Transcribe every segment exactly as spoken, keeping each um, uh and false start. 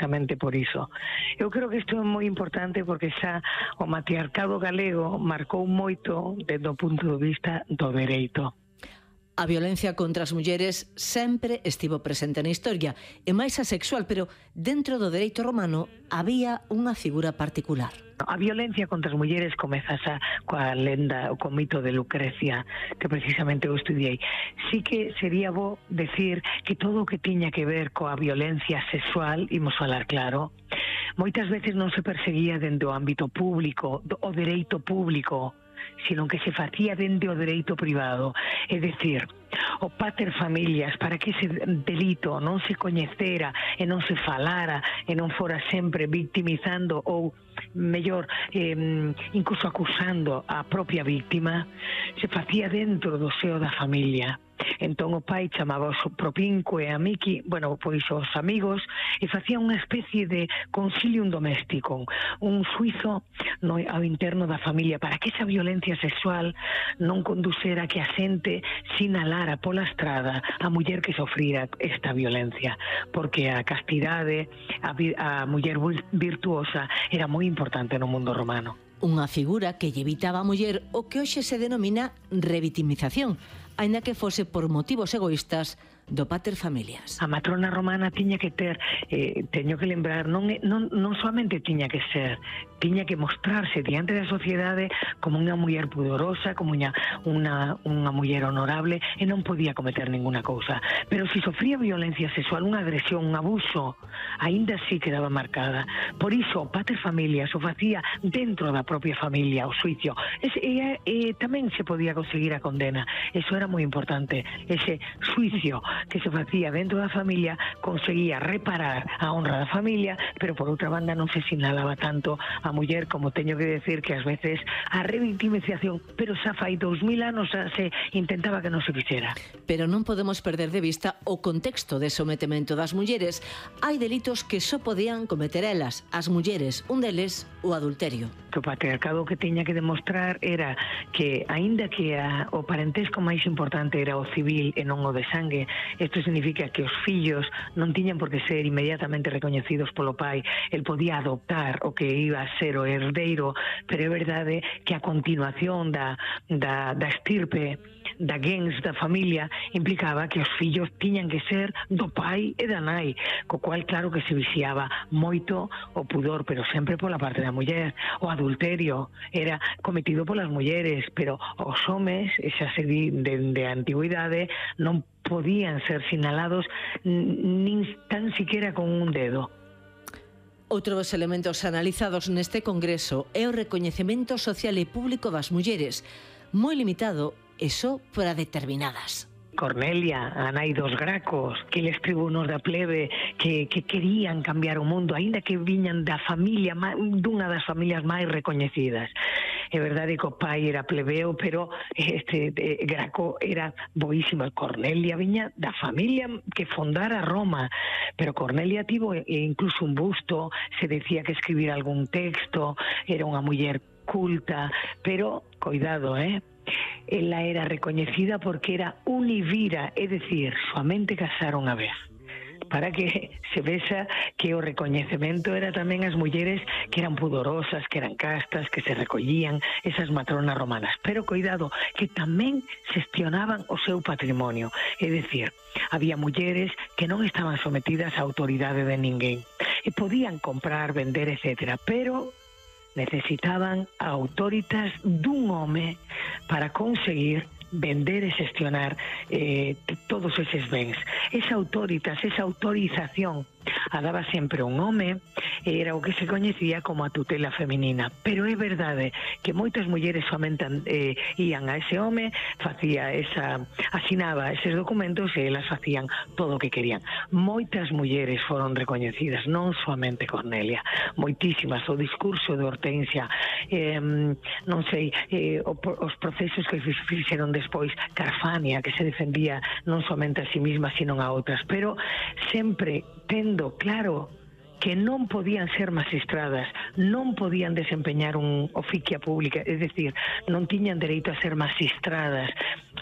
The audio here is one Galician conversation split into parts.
precisamente por iso. Eu creo que isto é moi importante porque xa o matriarcado galego marcou moito desde o punto de vista do dereito. A violencia contra as mulleres sempre estivo presente na historia, e máis a sexual, pero dentro do dereito romano había unha figura particular. A violencia contra as mulleres comeza xa coa lenda, o co mito de Lucrecia, que precisamente eu estudiei. Sí que sería bo decir que todo o que tiña que ver coa violencia sexual, imos falar claro, moitas veces non se perseguía dende o ámbito público, o dereito público, sino que se facía dende o dereito privado. É dicir, o pater familias, para que ese delito non se coñecera e non se falara e non fora sempre victimizando ou, mellor, eh, incluso acusando a propia víctima, se facía dentro do seo da familia. Entón o pai chamaba o propinco e a Miki, bueno, pois os amigos, e facía unha especie de concilium doméstico, un suizo no, ao interno da familia, para que esa violencia sexual non conducera que a xente sinalara pola estrada a muller que sofrira esta violencia, porque a castidade, a, a muller virtuosa era moi importante no mundo romano. Unha figura que lle evitaba a muller o que hoxe se denomina revitimización, aínda que fose por motivos egoístas do pater familias. A matrona romana tiña que ter, eh, teño que lembrar, non, non, non soamente tiña que ser, tiña que mostrarse diante da sociedade como unha muller pudorosa, como unha, unha, unha muller honorable, e non podía cometer ninguna cousa. Pero se sofría violencia sexual, unha agresión, un abuso, aínda así quedaba marcada. Por iso o pater familias o facía dentro da propia familia, o suicio. E, e, e tamén se podía conseguir a condena. Eso era moi importante. Ese suicio que se facía dentro da familia conseguía reparar a honra da familia, pero por outra banda non se sinalaba tanto a muller, como teño que decir que ás veces a revictimización, pero xa fai dous mil anos xa se intentaba que non se fixera. Pero non podemos perder de vista o contexto de sometemento das mulleres. Hai delitos que só podían cometer elas, as mulleres, un deles o adulterio. Que o patriarcado que tiña que demostrar era que, aínda que a, o parentesco máis importante era o civil e non o de sangue, isto significa que os fillos non tiñan por que ser inmediatamente recoñecidos polo pai. El podía adoptar o que iba a ser o herdeiro, pero é verdade que a continuación da, da, da estirpe, da gens da familia, implicaba que os fillos tiñan que ser do pai e da nai, co cual claro que se viciaba moito o pudor, pero sempre pola parte da muller. O adulterio era cometido polas mulleres, pero os homes, xa se di dende a antigüidade, non podían ser sinalados nin tan siquiera con un dedo. Outro dos elementos analizados neste congreso é o recoñecemento social e público das mulleres, moi limitado e só para determinadas. Cornelia, a nai dos Gracos, que les tribunos da plebe que, que querían cambiar o mundo, aínda que viñan da familia, dunha das familias máis recoñecidas. É verdade que o pai era plebeo, pero este de, Graco era boísimo. Cornelia viña da familia que fondara Roma, pero Cornelia tivo incluso un busto, se decía que escribira algún texto, era unha muller culta, pero, cuidado, eh? Ela era recoñecida porque era univira, é dicir, soamente casara unha vez, para que se vexa que o recoñecemento era tamén as mulleres que eran pudorosas, que eran castas, que se recollían, esas matronas romanas. Pero cuidado, que tamén xestionaban o seu patrimonio, é dicir, había mulleres que non estaban sometidas á autoridade de ninguén e podían comprar, vender, etcétera, pero necesitaban a autoritas dun home para conseguir vender e xestionar eh, todos eses bens. Esa autoritas, esa autorización a daba sempre un home, era o que se coñecía como a tutela feminina. Pero é verdade que moitas mulleres somente eh, ían a ese home, facía esa, asinaba eses documentos e elas facían todo o que querían. Moitas mulleres foron recoñecidas, non soamente Cornelia, moitísimas. O discurso de Hortensia, eh, non sei, eh, os procesos que fixeron despois Carfania, que se defendía non somente a sí misma, sino a outras, pero sempre tendo claro que non podían ser magistradas, non podían desempeñar un oficia pública, é dicir, non tiñan dereito a ser magistradas.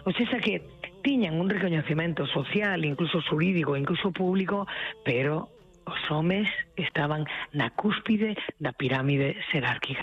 O sea, que tiñan un recoñecemento social, incluso xurídico, incluso público, pero os homes estaban na cúspide da pirámide xerárquica.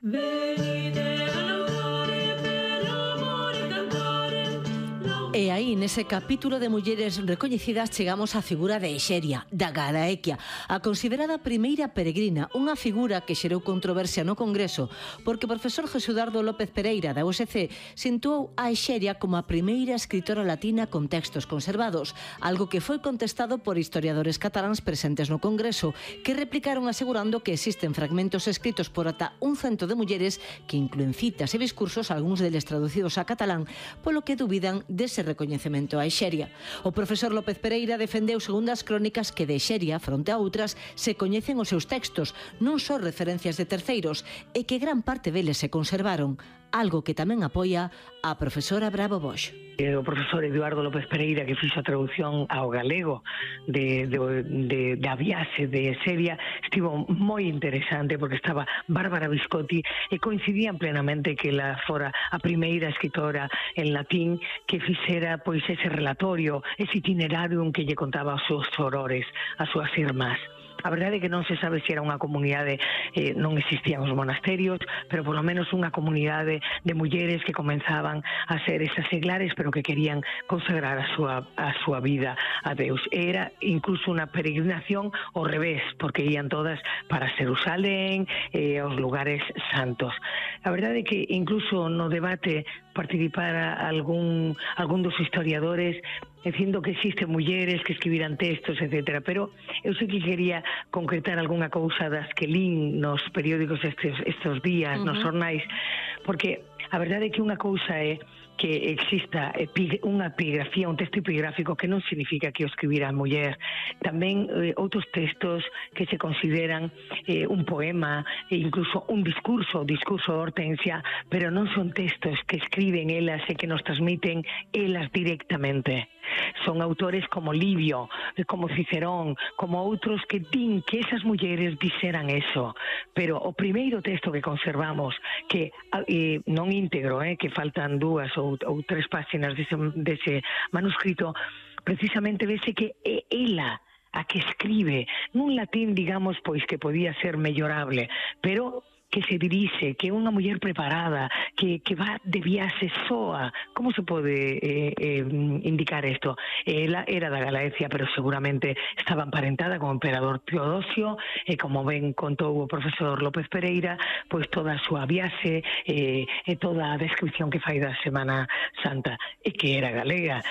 E aí, nese capítulo de mulleres recoñecidas, chegamos á figura de Exeria, da Galaequia, a considerada primeira peregrina, unha figura que xerou controversia no Congreso, porque o profesor Jesudardo López Pereira, da U S C, situou a Exeria como a primeira escritora latina con textos conservados, algo que foi contestado por historiadores cataláns presentes no Congreso, que replicaron asegurando que existen fragmentos escritos por ata un cento de mulleres que incluen citas e discursos, algúns deles traducidos a catalán, polo que dubidan dese recoñecemento a Exeria. O profesor López Pereira defendeu segundo as crónicas que de Exeria, fronte a outras, se coñecen os seus textos, non só referencias de terceiros, e que gran parte deles se conservaron, algo que tamén apoia a profesora Bravo Bosch. O profesor Eduardo López Pereira, que fixo a traducción ao galego de, de, de, da viaxe de Exeria, estivo moi interesante porque estaba Bárbara Viscotti e coincidían plenamente que ela fora a primeira escritora en latín que fixera pois ese relatorio, ese itinerario en que lle contaba os seus horrores, as súas irmás. A verdade é que non se sabe se era unha comunidade, eh, non existían os monasterios, pero polo menos unha comunidade de mulleres que comenzaban a ser esas seglares, pero que querían consagrar a súa, a súa vida a Deus. Era incluso unha peregrinación ao revés, porque ían todas para Xerusalén, eh, aos lugares santos. A verdade é que incluso no debate participara algún, algún dos historiadores dicindo que existen mulleres que escribiran textos, etcétera. Pero eu sei que quería concretar algunha cousa das que lín nos periódicos estes, estes días, uh-huh. nos xornais, porque a verdade é que unha cousa é que exista unha epigrafía, un texto epigráfico que non significa que o escribira a muller. Tamén eh, outros textos que se consideran eh, un poema e incluso un discurso, o discurso de Hortensia, pero non son textos que escriben elas e que nos transmiten elas directamente. Son autores como Livio, como Cicerón, como outros que din que esas mulleres dixeran eso. Pero o primeiro texto que conservamos, que eh, non íntegro, eh, que faltan dúas ou, ou tres páxinas dese, dese manuscrito, precisamente vese que é ela a que escribe nun latín, digamos, pois que podía ser mellorable, pero que se dirixe, que é unha muller preparada, que, que va de viaxe soa. Como se pode eh, eh, indicar isto? Ela era da Galaecia, pero seguramente estaba emparentada con o emperador Teodosio, e como ben contou o profesor López Pereira, pois toda a súa viaxe eh, e toda a descripción que fai da Semana Santa, e que era galega.